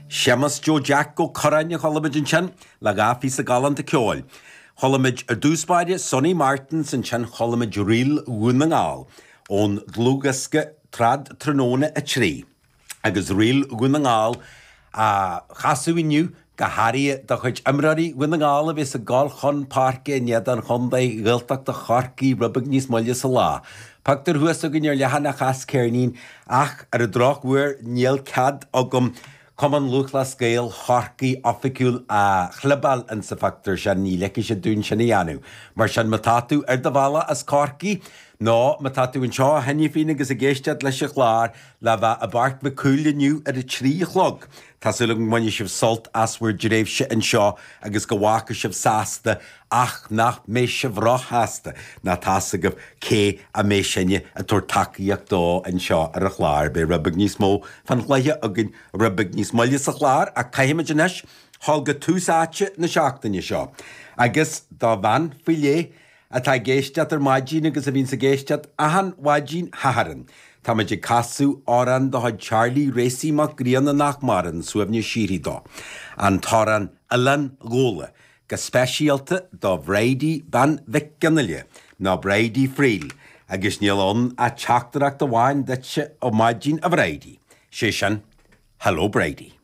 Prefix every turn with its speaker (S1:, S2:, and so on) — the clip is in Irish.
S1: Séamus Joe Jack Ó Curráin a chuala muid ansin le dha phíosa galánta ceoil. Chuala muid ar dtús báire Sonny Martin 's ansin chuala muid Ríl Dhún na nGall ón dlúthdhiosca Trad Tráthnóna 3. Agus Ríl Dhún na nGall á chasadh inniu, go háirithe do chuid imreoirí Dhún na nGall a bheas ag gabháil chun páirce in éadan chontae Ghaeltachta Chorcaí rud beag níos moille sa lá. Pictiúr thuas againn ar leathanach as ceirnín ach ar an drochuair níl cead agam Cumann Lúthchleas Gael Chorcaí oifigiúil a chlibeáil insa phictiúr sin, ní ligfidh siad dúinn sin a dhéanamh. Mar sin má tá tú ar do bhealach as Corcaigh nó má tá tú anseo cheana féin agus ag éisteacht leis an chlár, le bheith i bPáirc Mhic Cumhaill inniu ar a 3 a chlog. Tá súil agam go mbainfidh sibh sult as bhur dtréimhse anseo agus go bhfágfaidh sibh sásta ach nach mbeidh sibh róshásta ná tá's agaibh cé a mbeidh sinne ag tabhairt tacaíocht dó anseo ar an chlár. Beidh rud beag níos mó fán chluiche againn rud beag níos moille sa chlár ach caithfimid anois dhul go tús áite na seachtaine seo agus do bhean faoi leith atá ag éisteacht ar maidin agus a bhíonns ag éisteacht achan mhaidin Shathairn. Táimid ag casadh amhrán de chuid Charlie Racy Mac Grianna nach maireann, suaimhneas síoraí dó. An t-amhrán Oileán Ghabhla, go speisialta do Bhridie Bean Mhic Fhionnghaile, nó Bridie Friel, agus níl ann ach teachtaireacht amháin duitse ar maidin a Bhridie, sé sin, Hello Bridie.